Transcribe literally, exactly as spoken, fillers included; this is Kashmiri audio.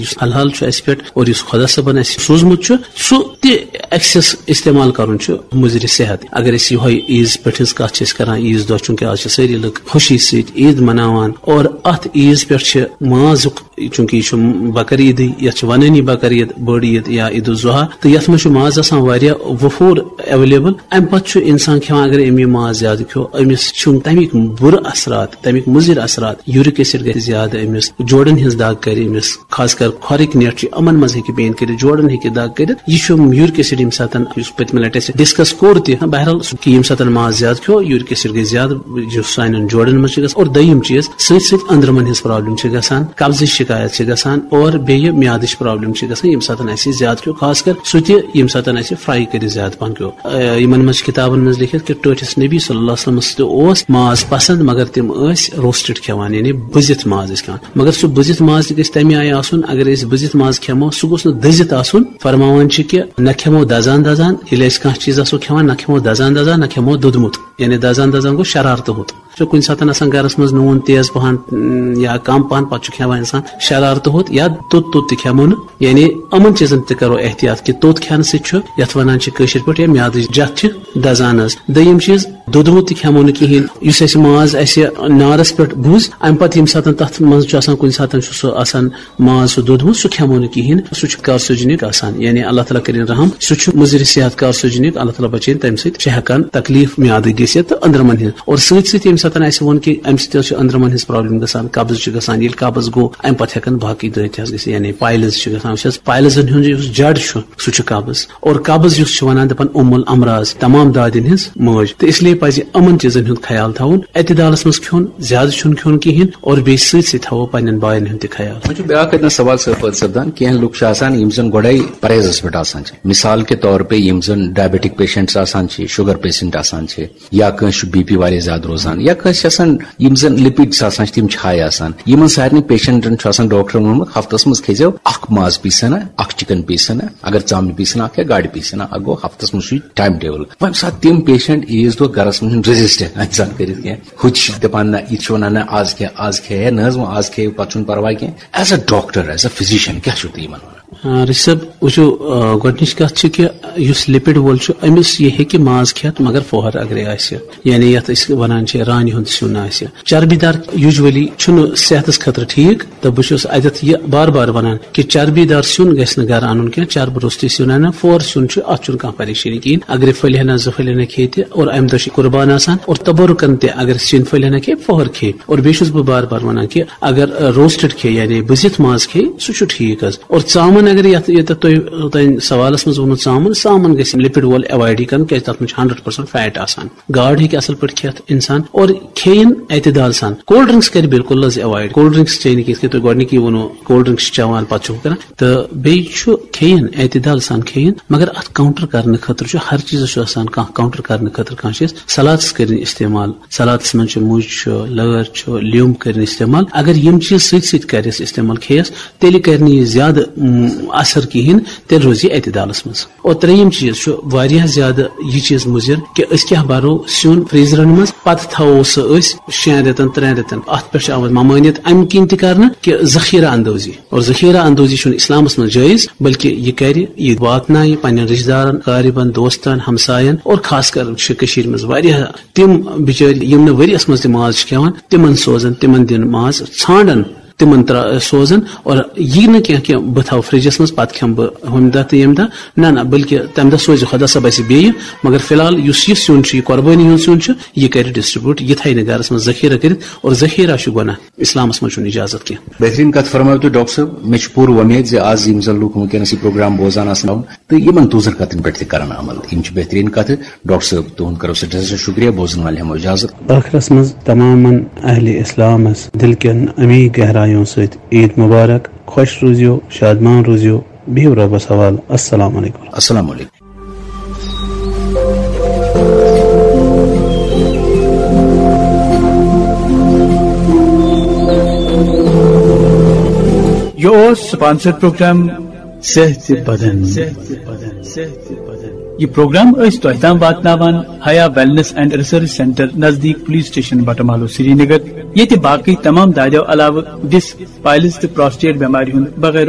یُس حلال چھُ اَسہِ پٮ۪ٹھ اور یُس خۄدا صٲبن اَسہِ سوٗزمُت چھُ، سُہ تہِ ایکسیس استعمال کرُن چھُ مُضرِ صحت۔ اگر أسۍ یِہوے عیٖز پٮ۪ٹھ ہٕنٛز کتھ چھِ أسۍ کران، عیٖذ دۄہ چونکہ آز چھِ سٲری لُکھ خوشی سۭتۍ عیٖد مناوان اور اتھ عیٖذ پٮ۪ٹھ چھِ مازُک، چونکہ یہِ چھُ بکر عیٖدٕے، یتھ چھِ ونٲنی بکر عیٖد، بٔڑ عیٖد یا عید الضحیٰ، تہٕ یتھ منٛز چھُ ماز آسان واریاہ وفور ایویلیبل۔ امہِ پتہٕ چھُ انسان کھٮ۪وان، اگر أمۍ یہِ ماز زیادٕ کھیوٚو، أمِس چھُ تمیُک بُرٕ اثرات، تمیُک مُضر اثرات، یوٗرِک ایسڈ گژھِ زیادٕ أمِس، جوڑن ہٕنٛز دگ کرِ أمِس، خاص کر کھۄرٕکۍ نٮ۪ٹ چھِ، یِمن منٛز ہیٚکہِ پین کٔرِتھ، جوڑن ہیٚکہِ دگ کٔرِتھ۔ یہِ چھُ یوٗرِک ایسڈ ییٚمہِ ساتہٕ، یُس پٔتمہِ لٹہِ اَسہِ ڈسکس کوٚر تہِ، بہرحال سُہ کہِ ییٚمہِ ساتہٕ ماز زیادٕ کھیوٚو، یوٗرِک ایسڈ گژھِ زیادٕ، یُس سانٮ۪ن جوڑن منٛز چھُ گژھان۔ اور دوٚیِم چیٖز، سۭتۍ سۭتۍ أنٛدرمن ہٕنٛز پرابلم چھِ گژھان، قبضٕچ شکایت چھِ گژھان اور بیٚیہِ میادٕچ پرابلم چھِ گژھان، ییٚمہِ ساتہٕ اَسہِ زیادٕ کھیوٚو، خاص کر سُہ تہِ ییٚمہِ ساتہٕ اَسہِ فرائی کٔرِتھ زیادٕ پہن کھیوٚو۔ آ، یِمن منٛز چھِ کِتابن منٛز لیکھِتھ کہِ ٹٲٹھِس نبی صلی اللہ علیہ وسلمس تہِ اوس ماز پسند، مگر تِم ٲسۍ روسٹڈ کھٮ۪وان، یعنی بُزِتھ ماز ٲسۍ کھٮ۪وان۔ مگر سُہ بُزِتھ ماز تہِ گژھِ تمہِ آیہِ آسُن، اگر أسۍ بُزِتھ ماز کھٮ۪مو، سُہ گوٚژھ نہٕ دٔزِتھ آسُن۔ فرماوان چھِ کہِ نہ کھٮ۪مو دزان دزان، ییٚلہِ أسۍ کانٛہہ چیٖز آسو کھٮ۪وان، نہ کھٮ۪مو دزان دزان، نہ کھٮ۪مو دوٚدمُت، یعنی دزان دزان گوٚو شرارتہٕ ہوٚت۔ چھُ کُنہِ ساتہٕ آسان گرس منٛز نوٗن تیز پہن، م، یا کم پہن، پتہٕ چھُ کھٮ۪وان انسان شرارتہٕ ہوٚت، یا توٚت توٚت تہِ کھٮ۪مو نہٕ۔ یعنی یِمن چیٖزن تہِ کرو احتیاط کہِ توٚت کھٮ۪نہٕ سۭتۍ چھُ، یتھ ونان چھِ کٲشِر پٲٹھۍ، یا میادٕچ جتھ چھِ دزان حظ۔ دوٚیِم چیٖز، دوٚدمُت تہِ کھٮ۪مو نہٕ کِہینۍ۔ یُس اَسہِ ماز اَسہِ نارس پٮ۪ٹھ بُز، امہِ پتہٕ ییٚمہِ ساتہٕ تتھ منٛز چھُ آسان، کُنہِ ساتہٕ چھُ سُہ آسان ماز سُہ دوٚدمُت، سُہ کھٮ۪مو نہٕ کِہینۍ، سُہ چھُ کارسوجنک آسان، یعنی اللہ تعالیٰ کٔرِنۍ رحم، سُہ چھُ مُضر صحت کارسوجنک، اللہ تعالیٰ بچٲیِن تمہِ سۭتۍ، چھِ ہٮ۪کان تکلیف میادٕ گٔژھِتھ تہٕ أنٛدرمن ہٕنٛز۔ اور سۭتۍ سۭتۍ ییٚمہِ ساتہٕ اَسہِ ووٚن کہِ امہِ سۭتۍ حظ چھِ أنٛدرمن ہٕنٛز پرابلم گژھان، قبض چھُ گژھان، ییٚلہِ قبض گوٚو، امہِ پتہٕ ہٮ۪کن باقٕے دٲدۍ تہِ حظ گٔژھِتھ، یعنی پایلز چھِ گژھان، وٕچھ حظ، پایلزن ہُنٛد یُس جڑ چھُ، سُہ چھُ قبض۔ اور قبض یُس چھُ وَنان، دَپان اُم الامراض، تمام دادٮ۪ن ہٕنٛز مٲج۔ تہٕ اس لیے پَزِ یِمَن چیٖزَن ہُنٛد خیال تھاوُن، اعتدالَس منٛز کھیوٚن، زیادٕ چھُنہٕ کھیوٚن کِہیٖنۍ، اور بیٚیہِ سۭتۍ سۭتۍ تھاوو پنٛنٮ۪ن بایَن ہُنٛد تہِ خیال۔ وۄنۍ چھُ بیٛاکھ اَتہِ نَس سوال سٲ-، پٲدٕ سَپدان، کینٛہہ لُکھ چھِ آسان یِم زَن گۄڈَے پرہیزَس پٮ۪ٹھ آسان چھِ۔ مِثال کے طور پے یِم زَن ڈائبیٹک پیشنٹس آسان چھِ، شُگر پیشنٹ آسان چھِ، یا کٲنٛسہِ چھُ بی پی واریاہ زیادٕ روزان، یا کٲنٛسہِ آسان یِم زَن لِپِڈس آسان چھِ، تِم چھِ ہاے آسان۔ یِمَن سارنٕے پیشنٹن چھُ آسان ڈاکٹرن ووٚنمُت، ہفتس منٛز کھیزیو اکھ ماز پیٖسا، اکھ چکن پیٖسا، اگر ژامنہِ پیٖسا اکھ یا گاڈٕ پیٖسا اکھ، گوٚو ہفتس منٛز چھُ ٹائم ٹیبل۔ وۄنۍ ساتہٕ تِم پیشنٹ عیٖذ دۄہ گرس منٛز چھِنہٕ ریزسٹ انسان کٔرِتھ کینٛہہ، ہُہ تہِ چھِ دپان، نہ، یہِ تہِ چھِ ونان، نہ، آز کھیٚیہِ، آز کھیٚیہِ ہے نہ حظ، وۄنۍ آز کھیٚیہِ، پتہٕ چھُنہٕ پرواے کینٛہہ۔ As a doctor, as a physician، کیٛاہ چھُو تُہۍ یِمن ونان؟ آ، رشی صٲب، وٕچھِو، آ، گۄڈٕنِچ کَتھ چھِ کہِ یُس لِپِڈ وول چھُ، أمِس یہِ ہیٚکہِ ماز کھٮ۪تھ، مگر فوہر اگرے آسہِ، یعنی یَتھ أسۍ وَنان چھِ رانہِ ہُنٛد سیُن آسہِ۔ چربی دار یوٗجؤلی چھُنہٕ صحتَس خٲطرٕ ٹھیٖک، تہٕ بہٕ چھُس اَتٮ۪تھ یہِ بار بار وَنان کہِ چربی دار سیُن گژھِ نہٕ گرٕ اَنُن کینٛہہ، چربہٕ روٚستُے سیُن اَنان، فوہر سیُن چھُ، اَتھ چھُنہٕ کانٛہہ پریشٲنی کِہیٖنۍ۔ اگرے پھٔلۍ ہنا زٕ پھٔلۍ ہنا کھیٚیہِ تہِ، اور اَمہِ دۄہ چھِ قربان آسان، اور تبرکن تہِ اگر سیُن پھٔلۍ ہنا کھیٚیہِ، فوہر کھیٚیہِ۔ اور بیٚیہِ چھُس بہٕ بار بار وَنان کہِ اگر، آ، روسٹڈ کھیٚیہِ، یعنی بُزِتھ ماز کھیٚیہِ، سُہ چھُ ٹھیٖک حظ۔ اور ژامَن اگر یَتھ، ییٚتٮ۪تھ تۄہہِ، تۄہہِ سوالَس منٛز ووٚنمُت ژامَن، ژامَن گژھِ لِپِڈ وول ایوایڈٕے کَرُن، کیٛازِ تَتھ منٛز چھُ ہنڈرڈ پٔرسنٹ فیٹ آسان۔ گاڈ ہیٚکہِ اَصٕل پٲٹھۍ کھٮ۪تھ اِنسان، اور کھیٚیِن اعتدال سان۔ کولڈ ڈرنکس کَرِ بِلکُل حظ ایوایڈ۔ کولڈ ڈرنکس چیٚیہِ نہٕ کینٛہہ، یِتھ کٔنۍ تۄہہِ گۄڈٕنِکی ووٚنوُ، کولڈ ڈرنکس چھِ چٮ۪وان، پَتہٕ چھُ ہُہ کَران۔ تہٕ بیٚیہِ چھُ کھیٚیِن، اعتدال سان کھیٚیِن، مگر اَتھ کاونٹر کَرنہٕ خٲطرٕ چھُ ہر چیٖزَس چھُ آسان کانٛہہ کاونٹر کَرنہٕ خٲطرٕ کانٛہہ چیٖز۔ سلادَس کٔرِنۍ استعمال، سلادَس منٛز چھِ مُج چھُ، لٲر چھُ، لیوٚمب کٔرِنۍ استعمال۔ اگر یِم چیٖز سۭتۍ سۭتۍ کَرٮ۪س استعمال، کھیٚیَس، تیٚلہِ کَرِ نہٕ یہِ زیادٕ، م، اثر کِہیٖنۍ، تیٚلہِ روزِ یہِ اعتدالَس منٛز۔ اور ترٛیٚیِم چیٖز چھُ واریاہ زیادٕ یہِ چیٖز مُضِر کہِ أسۍ کیٛاہ بَرو سیُن فریزرَن منٛز، پَتہٕ تھاوو سُہ أسۍ شٮ۪ن رٮ۪تَن، ترٛٮ۪ن رٮ۪تَن۔ اَتھ پٮ۪ٹھ چھِ آمٕژ ممٲنیت اَمہِ کِنۍ تہِ کَرنہٕ کہِ ذخیرہ اندوزی۔ اور ذخیرہ اندوزی چھُنہٕ اِسلامَس منٛز جٲیِز، بلکہِ یہِ کَرِ، یہِ واتنایہِ پنٛنٮ۪ن رِشتہٕ دارَن، قارِبَن، دوستَن، ہمسایَن، اور خاص کر چھِ کٔشیٖرِ منٛز واریاہ تِم بِچٲرۍ یِم نہٕ ؤریَس منٛز تہِ ماز چھِ کھٮ۪وان، تِمَن سوزَن، تِمَن دِن ماز، ژھانٛڈَن، تِمَن ترٛا-، سوزَن۔ اور یہِ نہٕ کینٛہہ کہِ بہٕ تھاوٕ فرجَس منٛز، پَتہٕ کھٮ۪مہٕ بہٕ ہُمہِ دۄہ تہٕ ییٚمہِ دۄہ۔ نہ، نہ، بلکہِ تَمہِ دۄہ سوزِ خۄدا صٲب اَسہِ بیٚیہِ۔ مگر فی الحال یُس یہِ سیُن چھُ، یہِ قۄربٲنی ہُنٛد سیُن چھُ، یہِ کَرِ ڈسٹریبیوٹ، یہِ تھایہِ نہٕ گَرَس منٛز ذخیرہ کٔرِتھ، اور ذخیرہ چھُ گۄناہ، اِسلامَس منٛز چھُنہٕ اِجازت کینٛہہ۔ بہترین کتھ فرمٲیو تُہۍ ڈاکٹر صٲب۔ مےٚ چھُ پوٗرٕ وۄمید زِ آز یِم زن لوٗکھ وٕنکیٚنس یہِ پروگرام بوزان آسن تہٕ یِمن تُہنٛزن کتھن پٮ۪ٹھ تہِ کرن عمل۔ یِم چھِ بہترین کتھٕ۔ ڈاکٹر صٲب، تُہُنٛد کرو سٮ۪ٹھاہ سٮ۪ٹھاہ شُکریہ۔ بوزن والٮ۪ن ہٮ۪مو اجازت۔ ٲخرس منٛز تمامن اہلِ اسلامس دِل کٮ۪ن عمیٖق گہرایوں سۭتۍ عیٖد مُبارک۔ خۄش روٗزِو، شادمان روٗزِو، بِہِو رۄبس حوالہٕ۔ السلام علیکم۔ السلام علیکم۔ یہِ اوس سپانسر پروگرام صحت بدن۔ یہِ پروگرام ٲسۍ تۄہہِ تام واتناوان حیا ویلنس اینڈ ریسرچ سینٹر نزدیٖک پولیس سٹیشن بٹہٕ محلہٕ سرینگر۔ ییٚتہِ باقٕے تمام دادیو علاوٕ ڈسک، پائلز تہٕ پراسٹیٹ بٮ۪مارِ ہُنٛد بغٲر